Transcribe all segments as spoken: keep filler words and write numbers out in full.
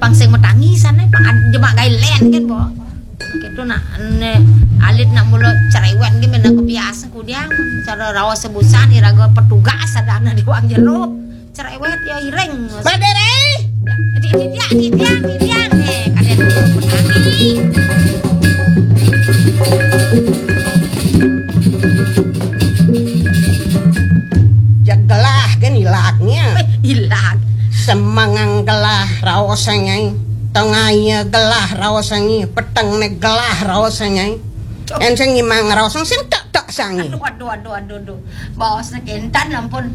Pang sing matangi sané, pang ad-, jemak gaé lén kan, Bo. Kéto nak, né, alit nak mula cerewet gé, mén aku biasa kudiang, cara raos sebusan, iraga petugas sadana di wang jero. Cerewet ya iring. Madere. Di, di, dia, di, dia, di, dia. Eh, kadén matangi. Ya gelah kan ilaknya. Eh, ilak. Semangang gelah raosangé. Tengahnya gelah raosangé. Petengné gelah raosangé. Cuk. Enseng imang raosang sing tak tak sangi. Aduh, aduh, aduh, aduh, aduh. Baosné kénten ampun.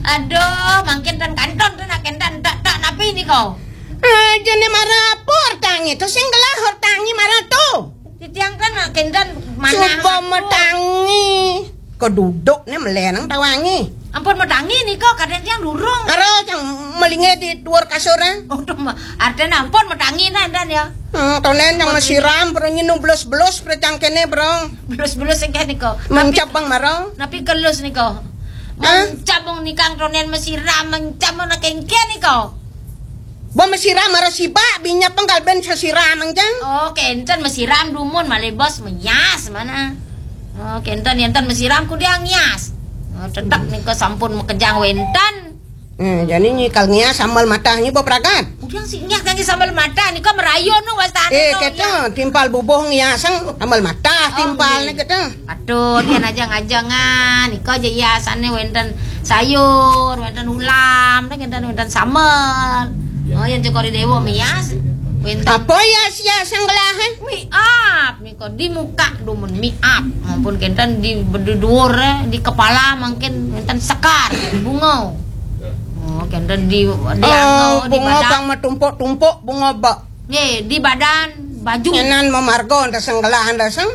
Aduh, mangkin tan kanton tuh nak kénten tak tak napi nika. Aja né mara apa hortangé tuh sing gelah hortangé mara tuh. Titiang kan nak kénten mana. Coba aku matangi. Kok duduk né melenang tawangé. Ampun matangi nika, kadén tiang durung. Karo cang melingé di dhuwur kasuré. Aduh, ma-, artiné ampun matangi nah, énten ya. Hmm, tonen cang masiram, bro, nyinu belus-belus, bro, cang kéné, bro. Belus-belus sing kéné nika. Mencap bang mara. Napi kelus nika? Hah? Mencap bang nikang tonen masiram, mencap bang nak kéngkén nika. Bo masiram mara sibak, binya penggal ben sasiram, cang. Oh, kénten masiram dumun, malih bos meyas mana. Oh, kénten yénten masiram kudiang ngias. Oh, tetep nika sampun makejang wénten. Eh, jani nyikal ngias sambel matah nyi bo pragat. Kudiang si ngias kangge sambel matah nika merayu nu wastané. Eh, nu, kéto, ya. Timpal bubuh ngiasang sambel matah. Oh, timpalné nggih. Kéto. Aduh, tiang ajeng-ajengan. Nika aja hiasané wénten sayur, wénten ulam, wénten, wénten sambel. Oh, yang cokor déwa mias. Wénten. Apa hias-hiasan gelahé? Mi up. Nika di muka dumun mi up. Maupun kénten di, di dhuwur, eh, di kepala mangkin wénten sekar, bunga. Oh, kénten di, di Oh, angau, di bunga badan. Pang matumpuk-tumpuk, bunga bak. Nggih, di badan, baju. Enan mamarga antasang gelah antasang.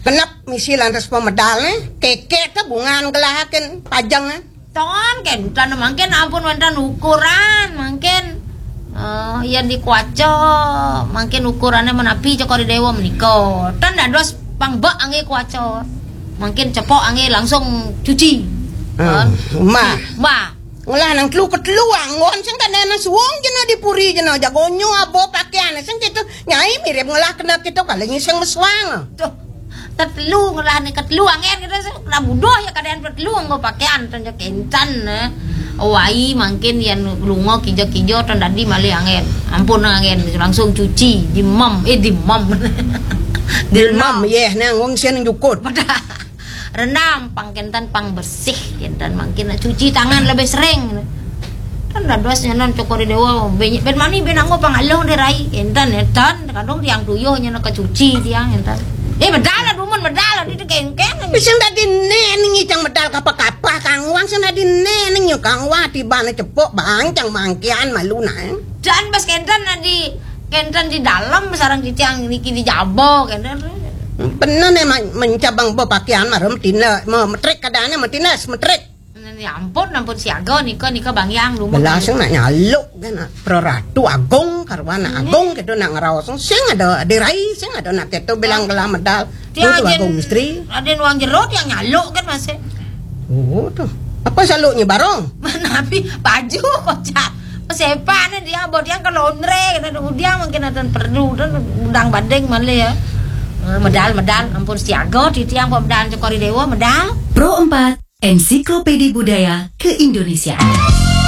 Genep misi lantas pamedalné. Kéké té bungan gelahaken pajeng, eh. Ton kénten mangkin ampun wénten ukuran, mangkin, eh, yén di kuaca, mangkin ukurané menapi cokor déwa menika. Tan dados pang bek anggé kuaca. Mangkin cepok anggé langsung cuci. Hmm, Ton. Mbah. Mbah. Ngolah nang telu ketelu anggon sing kadéna suwung jena di puri jena jagonyo abo pakaian sing kitu nyai mirip ngolah kena kitu kali ngising meswang. Tuh. Ketelu ngolah ni ketelu anggén kitu sing kena buduh ya kadén ketelu anggo pakaian ten ya kénten, eh. Wai mangkin yén lunga kija-kija ten dadi malih anggén. Ampun anggén langsung cuci, dimem, eh, dimem. Direndam. Dimem, yéh, nang wong sing jukut. Pada rendam, pang kénten, pang bersih, kénten mangkin cuci tangan lebih sering. Kan dados nyanan cokor déwa, ben, ben mani, ben anggo pang aluh dé rai, kénten, énten, kadung tiang tuyuh nyanan kecuci tiang, énten. Eh, medal lah, dumun, medal lah, di kéngkén. Sing dadi né ning icang medal kapah-kapah, Kang Wang, sing dadi né ning Kang Wang, tibane cepuk, bancang mangkian malu nah. Dan bas kénten di, kénten di dalam, sareng di tiang niki di jaba, kénten. Bener né, ma-, mencabang bo pakaian mara metina, ma-, metrik kadane metina, metrik. Ya ampun, ampun siaga nika, nika Bang Yang, dumun. Belasang nak nyaluk kan, nak Praratu Agung, karuan nak Agung, kéto nak ngraos. Sing ada dirai, sing ada nak kéto bilang gelah medal. Tiang Tuh, Agung istri. Raden Wang Jero tiang nyaluk kan masih. Oh, tuh. Apa saluknya barong? Nabi baju kocak. Sepan dia, buat yang ke laundry, kata udiang mungkin ada perlu, dan udang badeng malah ya. Eh, medal, medal, ampun siaga, titiang pemedal cokor déwa, medal. Pro empat, Ensiklopedi Budaya Keindonesiaan.